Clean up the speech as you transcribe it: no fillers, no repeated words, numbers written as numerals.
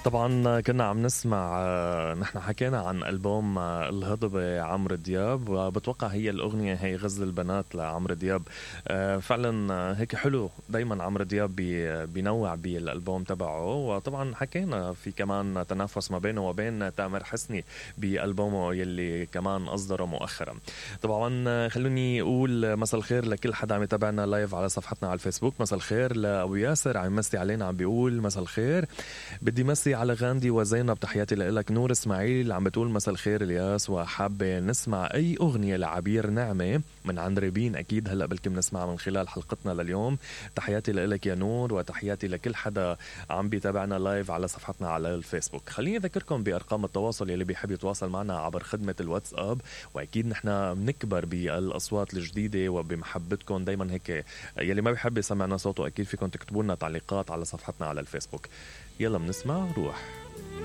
طبعا كنا عم نسمع نحن حكينا عن ألبوم الهضبة عمرو دياب، وبتوقع هي الأغنية هي غزل البنات لعمرو دياب. فعلا هيك حلو دايما عمرو دياب بينوع بالألبوم تبعه. وطبعا حكينا في كمان تنافس ما بينه وبين تامر حسني بألبومه يلي كمان أصدره مؤخرا. طبعا خلوني أقول مساء الخير لكل حدا عم يتابعنا لايف على صفحتنا على الفيسبوك. مساء الخير لأبو ياسر عم يمسي علينا، عم بيقول مساء الخير. بدي مسي على غاندي وزينب، تحياتي لك. نور اسماعيل عم بتقول مساء الخير الياس، وحابة نسمع أي أغنية لعبير نعمة من عند ريبين، أكيد هلأ بلكي بنسمعها من خلال حلقتنا لليوم. تحياتي لك يا نور، وتحياتي لكل حدا عم بيتابعنا لايف على صفحتنا على الفيسبوك. خليني أذكركم بأرقام التواصل يلي بيحب يتواصل معنا عبر خدمة الواتساب، وأكيد نحنا بنكبر بالأصوات الجديدة وبمحبتكم دايما. هيك يلي ما بيحب يسمعنا صوته أكيد فيكم تكتبوا لنا تعليقات على صفحتنا على الفيسبوك. يلا بنسمع روح.